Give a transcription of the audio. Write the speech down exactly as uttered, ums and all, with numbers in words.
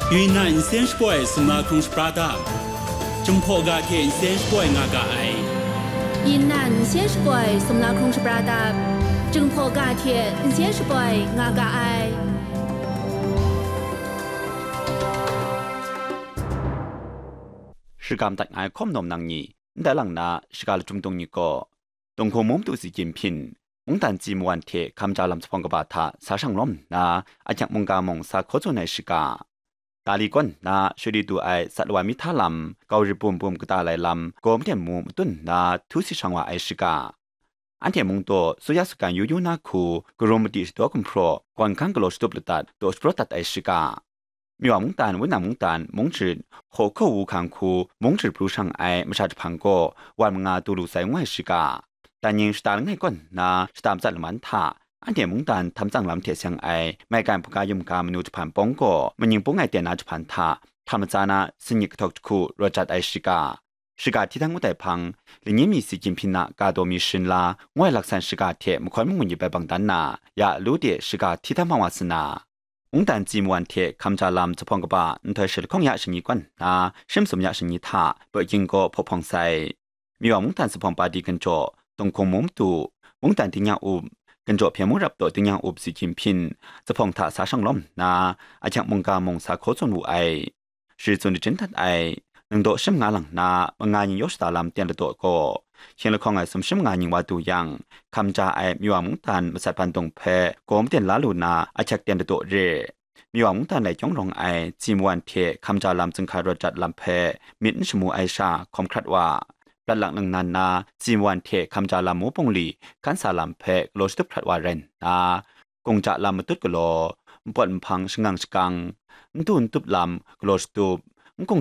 Yunnan nsen shapoi sumla hkrung shapra dap, Jinghpaw ga hte nsen shapoi nga ga ai. Yunnan nsen shapoi sumla hkrung shapra dap, Jinghpaw ga hte nsen shapoi nga ga ai. Shagam dat ngai hkawm nawm nang ni, ndai lang na shaga lachyum dung ni gaw, Tunghkung mung matu si gyim hpyin, mungdan tsi mawan hte hkamja lam zuphpawng kaba hta sa shang lawm nna, ahkyak mungga mung sa hkaw tsun ai shaga, Tali kawn nna shut di du ai sat lawa mi hta lam, gau rit bum bum kata lai lam, gaw maden mu matun nna htu si shang wa ai shaga, anhte mung daw, suya sugan yu yu na hku, karum madi shadaw gumhpraw, gawn hkan galaw shatup ladat, daw shapraw dat ai shaga, Miwa mungdan, Wunna mungdan, mungchrit, hkaw hkaw wu hkang hku, mungchrit pru shang ai masha jahpan gaw, wan manga du lu sai ngu ai shaga, dan ning shata langai kawn nna shata matsat laman hta, anhte mungdan htam tsang lam hte seng ai maigan hpaga yum ga manu jahpan pawng gaw, maning pung ai ten na jahpan hta, htam matsa na, singyit kahtawk jahku rawt jat ai shaga, shaga hti dan ngut ai hpang, lanyin mi si gyim hpyin na ga daw mi sharin la, ngu ai laksan shaga hte mahkawn mangun yip ai bang dan na, ya lu de shaga hti dan hpang wa sa na, mungdan tsi mawan hte hkamja lam zuphpawng kaba nhtoi shi lahkawng ya shani kawn nna, shi masum ya shani hta, Baw King gaw hpaw hpawng sai. Miwa mungdan zuphpawng padi ginjaw, Tunghkung mung matu, mungdan tingnyang up, ginjaw hpyen mung rap daw tingnyang up si gyim hpyin, zuphpawng hta sa shang lawm nna, ahkyak mungga mung sa hkaw tsun wu ai. Shi tsun shajin dat ai, ningdaw shi manga lang nna, manga ning yaw shada lam ten ladaw gaw, hkying lahkawng ai sumshi manga ning wa du yang, hkamja ai Miwa mungdan masat bandung hpe gaw maden la lu na ahkyak ten ladaw re. Miwa mungdan lai kyawng rawng ai tsi mawan hte hkamja lam zinghka rawt jat lam hpe myit n shamu ai sha hkawm hkrat wa, prat lang ningnan na tsi mawan hte hkamja lam mu pungli hkan sa lam hpe galaw shatup hkrat wa rai nna, kungja lam matut galaw, npawt nhpang shangang shakang, ntu ntup lam galaw shatup,